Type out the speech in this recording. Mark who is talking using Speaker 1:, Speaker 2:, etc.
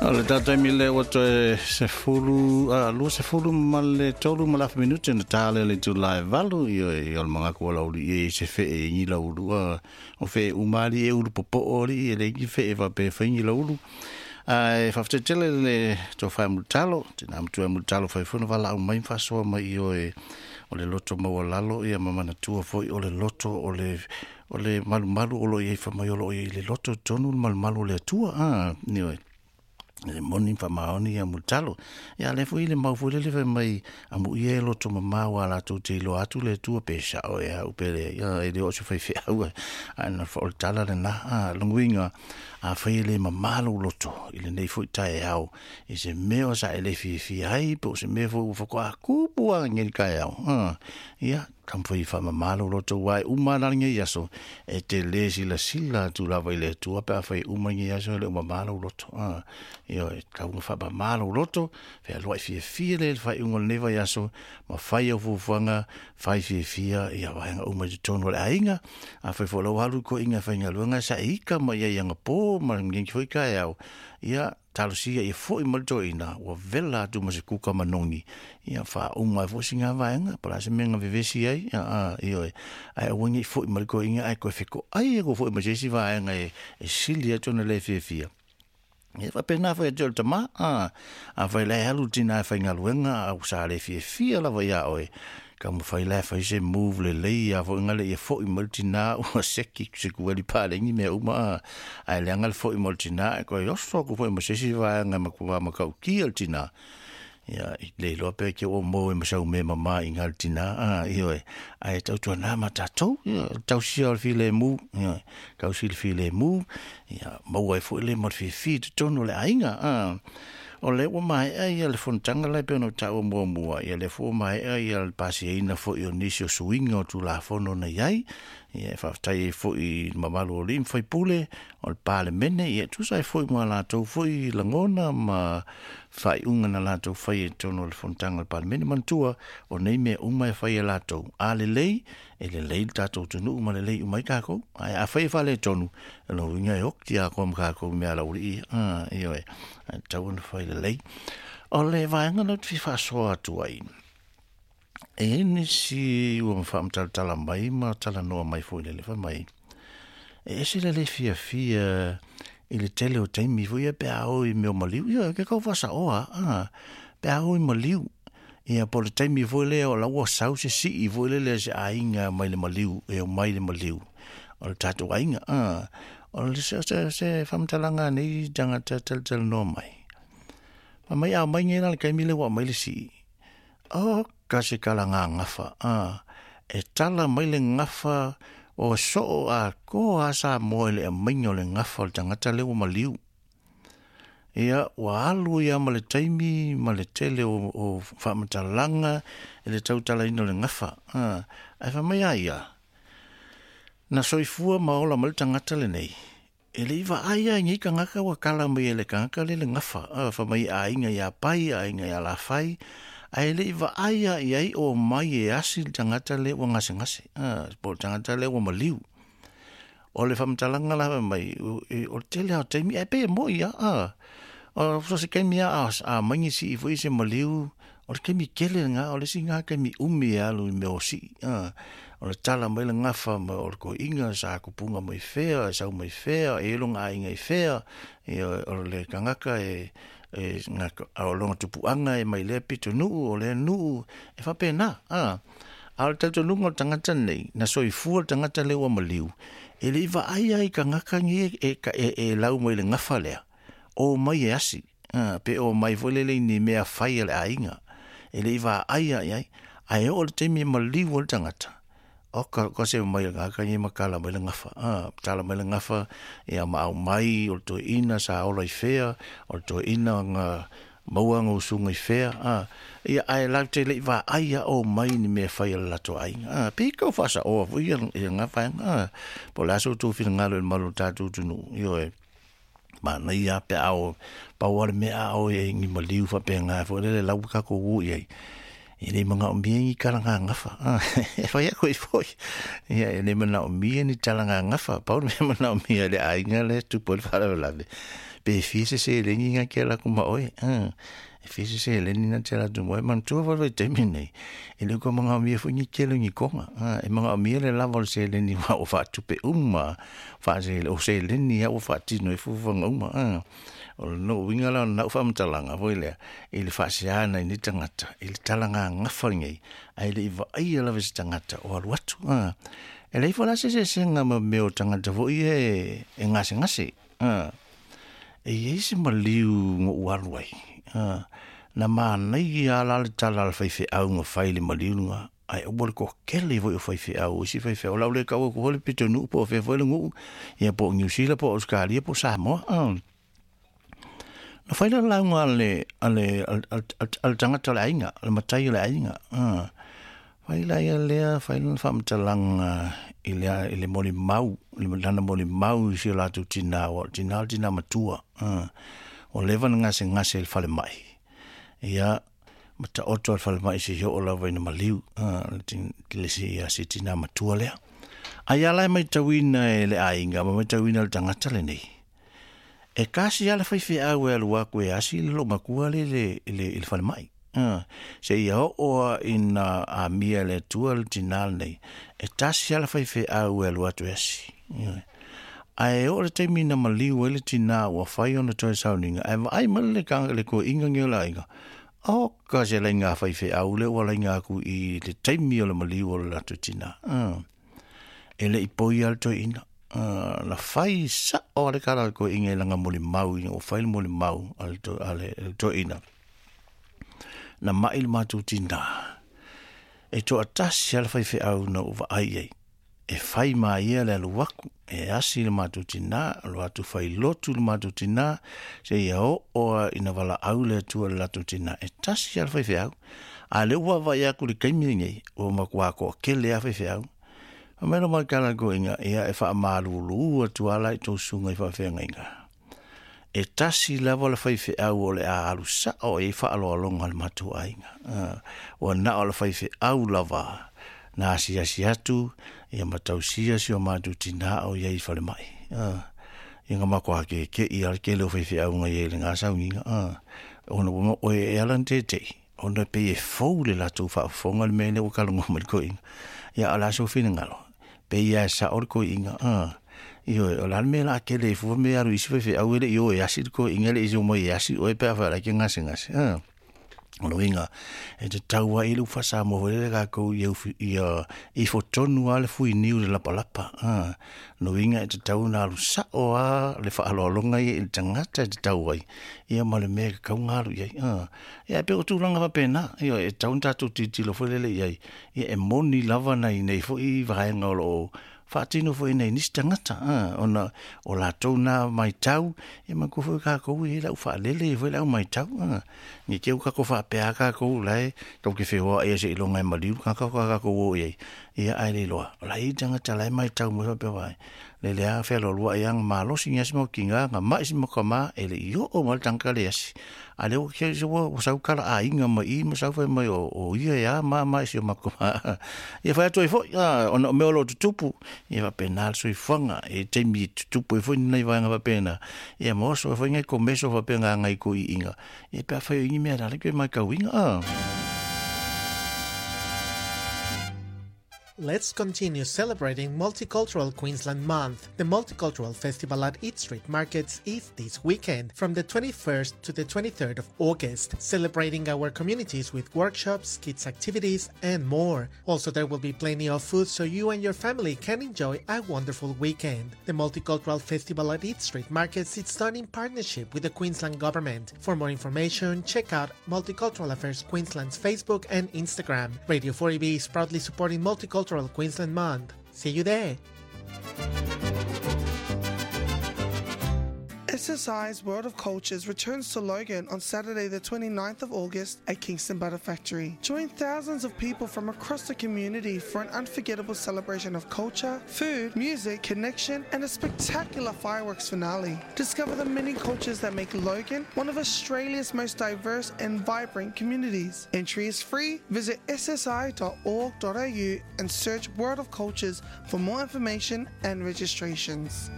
Speaker 1: O le tatou taimi lea ua toe 10, 23 ma le afa minute na ta lea le itula e 8, ioe, o le mangaku o lau alii e se fee i lau ulu, o fee uma alii e ulu popo'o alii e le igi fee faapea e fai ni lau ulu. Ae faafetai tele le tofa e mulitalo, tina matua e mulitalo fai foi na valaau mai ma faasoa mai, ioe, o le loto maualalo ia ma manatua foi o le loto o le malumalu o lo o i ai fai mai o lo o i ai i le loto tonu le malumalu o le Atua, ioe. Le moni faamaoni ia mulitalo. Ia le foi le mau foi lele fai mai amuia e loto mamao a latou te iloa atu le Atua pe sao e au pe le, ia, e le o se faifeau, ae na o le tala lena. Lona uiga, afai e le mamā lou loto i lenei foi taeao, i se mea o sa e le fiafia ai, po o se mea foi ua faatoa tupu lava nei taeao, ia, taumafai e faamamā lou loto, ua e uma la lenei aso, e te le silasila atu lava i le Atua pe afai e uma lenei aso e le o mamā lou loto. Ioe, tatau ona faamamā lou loto, fealuai fiafia le faaiuga o lenei vaiaso, ma fai au fuafuaga, fai fiafia ia vaega uma i totonu o le aiga. Afai foi o la ua alu i toeaiina e faigaluega sa e ika mai ai agapō ma lenei foi taeao, ia talosia ia foi mai le toeaina ua vela atu ma se kuka manogi, ia faauma ai foi sina vaega po o le a se mea na vevesi ai, ioe, ae aua nei foi mai le toeaina ae toe fetoai atu foi ma se isi vaega e sili atu ona le fiafia. Ia faapena foi ia te oe le tama, afai la e alu le tina e faigaluega a ua sa le fiafia lava iā oe, taumafai la e fai se move lelei a foi gale ia foi mai le tina ua seki se kueli paleni mea uma, ae leaga le foi mai o le tina e toe oso atu foi ma se isi vaega e matua matautia le tina. Ia, i le iloa pe ke ua maua ma sau mea mamā i ngā le tina, ioe, ae tautuana ma tatou, ia, tausia o le filemu, ia, tausi le filemu, ia, maua ai foi le ma le fiafia i totonu o le aiga, O lea ua maea ia le fonotaga la e pei ona ou taua muamua, ia lea foi ua maea ia le pasiaina foi o nisi o suiga o Tulafono na i ai, ia e faafetai ai foi i le mamalu o alii ma faipule o le Palemene, ia e tusa ai foi ma latou foi lagona ma faaiuga na latou faia i totonu o le fonotaga o le Palemene. Manatua, o nei mea uma e fai e latou, a lelei, e lelei le tatou atunuu ma lelei uma ai takou, ae afai e faaletonu, o lona uiga e oti atoa ma takou i mea laulii, ioe, ae tatau ona fai lelei. O le vaega lea ou te fia faasoa atu ai, e i ai nisi ua faamatalatala mai ma talanoa mai foi lele fai mai, e ese le le fiafia i le tele o taimi foi ia pe a o i mea o maliu, ia ke kau faasaoa, pe a o i maliu, ia po o le taimi foi lea o la ua sau se sii foi lele a se aiga mai le maliu, e omai le maliu o le tatou aiga, o le se faamatalaga a nei tagata talatalanoa mai. Fai mai a omai nei la le taimi lea ua aumai le sii, o ka se tala gagafa, e tala mai le gafa o soo atoa a Samoa i le aumaiga o le gafa o le tagata lea ua maliu. Ia, ua alu ia ma le taimi ma le tele o faamatalaga i le tautalaina o le gafa. Ae fai mai a ia, na soifua ma ola mai le tagata lenei, e le i vaai lava i nei tagata ua tala mai e le tagata lea le gafa, fai mai aiga ia Pai, aiga ia Lafai, ae le i vaai lava i ai o mai e asi le tagata lea ua gasegase, po o le tagata lea ua maliu. O le faamatalaga la fai mai, o le tele lava o taimi, ae pei e moi lava, o so o se taimi lava a aumai ni sii foi se maliu, o le taimi tele lena, o le isi lena taimi umi e alu i mea o sii, o le tala mai le gafa ma o le toeaina sa tupuga mai fea, e sau mai fea, e i ai lona aiga i fea, ia, o le tagata e o lona tupuaga e mai lea pitonuu, o lea nuu, e faapena, A o le talitonuga o le tagata lenei, na soifua le tagata lea ua maliu, e le i vaai lava i tagata nei e lau mai le gafa lea, o mai e asi, pe o mai foi lele i ni mea fai a le aiga, e le i vaai lava i ai, ae oo i le taimi e maliu ai le tagata, o ka se mai le tagata nei ma tala mai le gafa, tala mai le gafa, ia ma aumai o le toeaina sa ola i fea, o le toeaina na maua ana usuga i fea, ia, ae latou te le i vaai lava o mai ni mea fai a le latou aiga. Pei tau faasaoa foi ia lena vaega, po o le a sa outou finagalo i le malu o le tatou atunuu, ioe, manaia lava pe a o, pau lava le mea a o i ni maliu faapena foi lele la ua tatou o i ai, e le manaomia ni tala gagafa, e fai atu ai foi, ia, e le manaomia ni tala gagafa, pau le mea manaomia e le aiga lea e tupu ai le faalavelave, Pe fia se seleni na te ala atu ma oe. E fia se seleni na te ala atu ma oe. Manatua foi le vaitaimi lenei, e le o toe manaomia foi ni tele o ni koga. E manaomia le lava o le seleni aua ua faatupe uma, o seleni lava ua faatino ai fuafuaga uma. O lona uiga la o lenau faamatalaga foi lea, i le faasea nai nei tagata i le talagagafa lenei, ae le i vaaia lava e se tagata o alu atu. E leai foi la se eseesega ma mea o tagata foi ia e gasegase. E i ai se maliu na ou alu ai, na manaia lava la le tala a le faifeau na fai i le maliu lena, ae aua le toatele foi o faifeau, o isi faifeau, o le a ou le tau atu foi le pitonuu po o fea foi le nuu, ia po o Niu Sila po o Ausetalia po o Samoa. Na fai le lauga a le, a le, a le tagata o le aiga, le matai o le aiga. Fai la ia lea, fai lana faamatalaga i le, i le molimau, i lana molimau i si o latou tinā, aua o le tinā o le tinā matua. Ua leva ona gasegase i le falemai. Ia, ma taoto lava i le falemai seia oo lava ina maliu, le si tinā matua lea. A ia la e matauina e le aiga ma matauina e le tagata lenei, e tasi lava le faifeau e alu atu e asi le loomatua lea i le falemai. Seia oo lava ina amia e le Atua le tinā lenei, e tasi lava le faifeau e alu atu e asi. Ae oo i le taimi na maliu ai le tinā ua fai ona toe sauniga, ae vaai mai le le toeaina lenei o le aiga, oka se laina faifeau lea ua laina atu i le taimi o le maliu o le latou tinā. E le i poi lava le toeaina. Na fai sao lava le tala a le toeaina i lana molimau ina ua fai le molimau a le toeaina. Na mai le matou tinā, e toatasi lava le faifeau na ou vaai i ai. E fai ma ia le alu atu, e asi le matou tinā, alu atu fai lotu le matou tinā, seia oo lava ina valaau le Atua i le latou tinā, e tasi lava le faifeau. A o lea ua vaavaai atu i le taimi lenei, ua matua toatele lava faifeau. Fai mai lou maitala i le toeaina, ia e faamalulu atu lava la i tou susuga i faafeagaiga. E tasi lava le faifeau o le a alu sao i ai faaaloaloga a le matou aiga. Ua na o le faifeau lava na asiasi atu ia ma tausia si o matou tinā o i ai i falemai. Ia na matua keke'i lava le tele o faifeau na i ai i lena sauniga. Ona ua e ala ona tete'i, ona e pei e fou le latou faafofoga le mea lea ua talanoa mai le toeaina. Ia a o le a sou finagalo? Pei lava e sao le toeaina, ioe, o le a le mea o le a tele ai fua mea e alu i isi faifeau e le i o e asi le toeaina, e le i omai e asi oe pe afai o la e te gasegase. O le uiga, e tatau lava i le upu faa-Samoa foi lele tatou ia, ia ifo tonu lava le fuiniu i le lapalapa. O le uiga e tatau ona alu sao lava le faaaloaloga ia i le tagata e tatau ai, ia ma le mea e tatau ona alu i ai. Ia e pei o tulaga faapena, ioe, e tatau ona tatou tilotilo foi lele i ai, ia e moni lava nai nei foi vaega o lo o faatino foi nai nisi tagata, ona o latou na matau, ia manatua foi tatou e i ai le aufaalele, e i ai foi le au matau, ne i te i ua tatou faapea lava tatou o la e tatou te feoai lava seiloga e maliu le tagata faatoa tatou o i ai, ia ae le iloa, o la e i ai tagata o la e matau mai faapea mai, lele lava fealoaloai lava na malosi ni asi mau tina, na mai si mau tama, e le i oo mai le tagata le asi. A lea ua kei ua ua sau tala aiga mai i ma sau fai mai o, o ia e a ma ma i si o matou ma. Ia fai atu ai foi, a, ona o mea o lo o tutupu, ia faapena le soifuaga, e taimi e tutupu ai foi ni nai vaega faapena, ia ma oso ai foi nai komeso faapena nai toeaiina, ia pe afai o i ni mea la le toe matauina, a.
Speaker 2: Let's continue celebrating Multicultural Queensland Month. The Multicultural Festival at Eat Street Markets is this weekend from the 21st to the 23rd of August, celebrating our communities with workshops, kids activities, and more. Also, there will be plenty of food so you and your family can enjoy a wonderful weekend. The Multicultural Festival at Eat Street Markets is done in partnership with the Queensland Government. For more information, check out Multicultural Affairs Queensland's Facebook and Instagram. Radio 4EB is proudly supporting Multicultural Queensland Month. See you there!
Speaker 3: SSI's World of Cultures returns to Logan on Saturday, the 29th of August at Kingston Butter Factory. Join thousands of people from across the community for an unforgettable celebration of culture, food, music, connection, and a spectacular fireworks finale. Discover the many cultures that make Logan one of Australia's most diverse and vibrant communities. Entry is free. Visit ssi.org.au and search World of Cultures for more information and registrations.